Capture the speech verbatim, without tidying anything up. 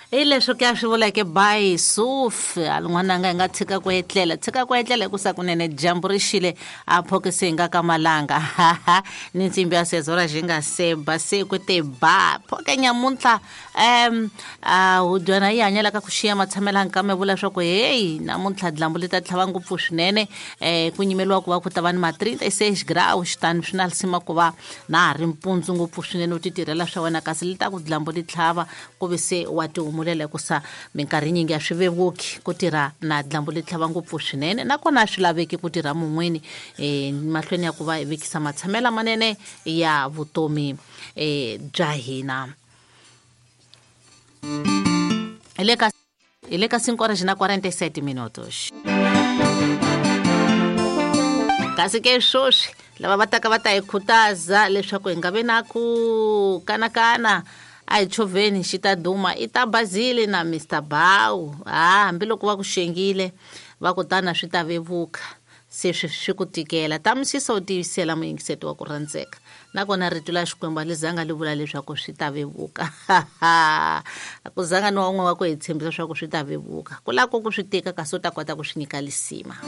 Hi leswo ke a swi vuleke by Suf n'wananga hi nga tshika ku etlela tshika ku etlela hikusa kunene dyambu ri xile a phokisi hi nga ka malanga ni ntsimbi ya sezora xi nga se ba se ku te ba phoke nyamuntlha um a hudyana yi hanyelaka ku xiya matshamela nkame vula swa ku heyi namuntlha dyambu li ta tlhava ngopfu swinene um ku nyimeliwa ku va ku ta va ni ma trinte-seis graus tani swi na lisima ku va na ha ri mpundzu ngopfu swinene u ti tirhela swa wena kasi li ta ku dyambu li tlhava ku ve se wa ti humulela hikusa minkarhi yinyingi a swi vevuki ku tirha na dyambu li tlhava ngopfu swinene nakona a swi laveki ku tirha mun'wini um mahlweni ya ku va hi vekisa matshamela manene ya vutomi um bya hina. Hi le ka hi le ka cinco horas na quarenta e sete minutos. Kasi ke sweswi lava va taka va ta hi khutaza leswaku hi nga vi na ku kanakana a hi chovheni xi ta duma i ta Bazili na Mister Bawu. Ha hambiloko va ku xengile va ku tana swi ta vevuka se swi swi ku tikela tamisisa u tiyisela muyingiseti wa ku rhandzeka nakona rito la Xikwembu a li zanga li vula leswaku swi ta vevuka a ku zanga ni wa un'we wa ku hi tshembisa swa ku swi ta vevuka ku lava ku ku swi tika kasi u ta kota ku swi nyika lisima.